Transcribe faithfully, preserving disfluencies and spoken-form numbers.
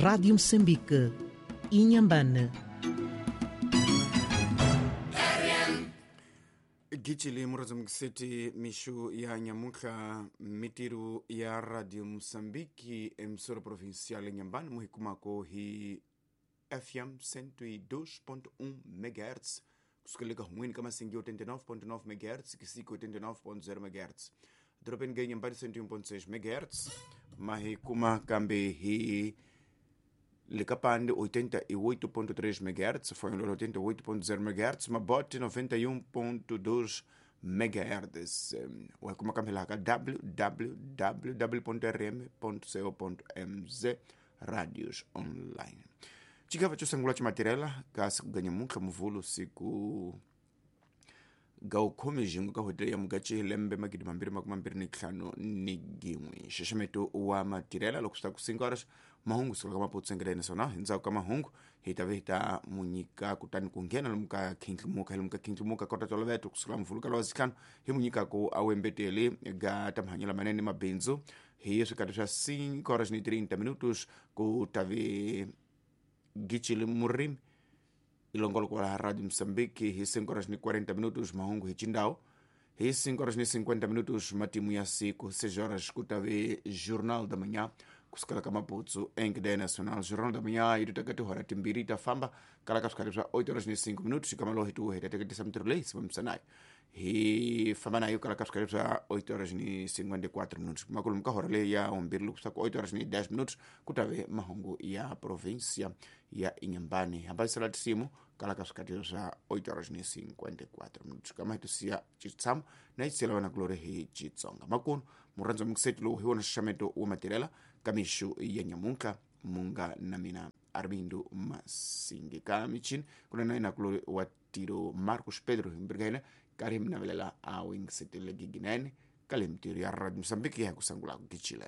Rádio Moçambique, Inhambane. Gichili murazo mkiseti mishu ya nyamuka mitiru ya Radio Mosambiki emissora provincial Inhambane muhikumako hi F M cento e dois ponto um megahertz kusikeleka humwini kama singi oitenta e nove ponto nove megahertz kisiki oitenta e nove ponto zero megahertz dropeni ga Inhambane cento e um ponto seis megahertz mahikuma kambe hi Licapande oitenta e oito ponto três megahertz, foi oitenta e oito ponto zero megahertz, Mabote noventa e um ponto dois megahertz. Ou como a w w w ponto r m ponto co ponto m z rádios online. Chigava chosangula chimatirela kasi kuganya muka muvulu siku gaukhomi jingu ka ya mugachi lembe magidi mambiri makumi mambiri ni ntlhanu ni gin'we xaxameto wa matirela loko swi ta ku cinco horas mahungu sukela ka maputsu naswona hi ndzhaku ka mahungu hi ta ve hi ta munyika kutani ku nghena lomu ka khindlimuka lomu ka khindlimuka kota toloveto kusukela muvulu ka lowa zitlhanu hi munyikaku a wembeteli ga ta mahanyelo lamanene mabindzu hi swikati swa cinco horas ni trinta minutos ku ta ve gichili murimi ilongolo kwa Radio Mozambique hi cinco horas ni quarenta minutos mahungu hi chindao hi cinco horas ni cinquenta minutos matimu ya siku seis horas kutave Jornal da Manhã kusukela ka Maputo em cadeia nacional Jornal da Manhã e tutaka tihora timbiri ta famba kala ka swikati swa oito horas ni cinco minutos kamalo hi tuhe tateketisa mitirho leyi sivamisanayo hi famba nayo kala ka swikati swa oito horas ni cinquenta e quatro minutos makulumu ka hora leyi ya umbirhi loko swa ku oito horas ni dez minutos kutave mahungu ya província ya Inhambane hambanyisela tisimu kala ka swikati swa oito horas ni cinquenta e quatro minutos kama hi tusiya chitshamo na hi vana kulori hi Xitsonga makunu murhandza mukiseti lowu hi wona xaxameto wa matirela ka mixu ya nyamunka munga na mina Armindo Masingi ka michini kuna na ina kulori wa tiro Marcos Pedro himbirika hina kari hi minavelela a wingisetele giginene ka le mitirho ya Radio Mozambique ya ku sangula ku gichile.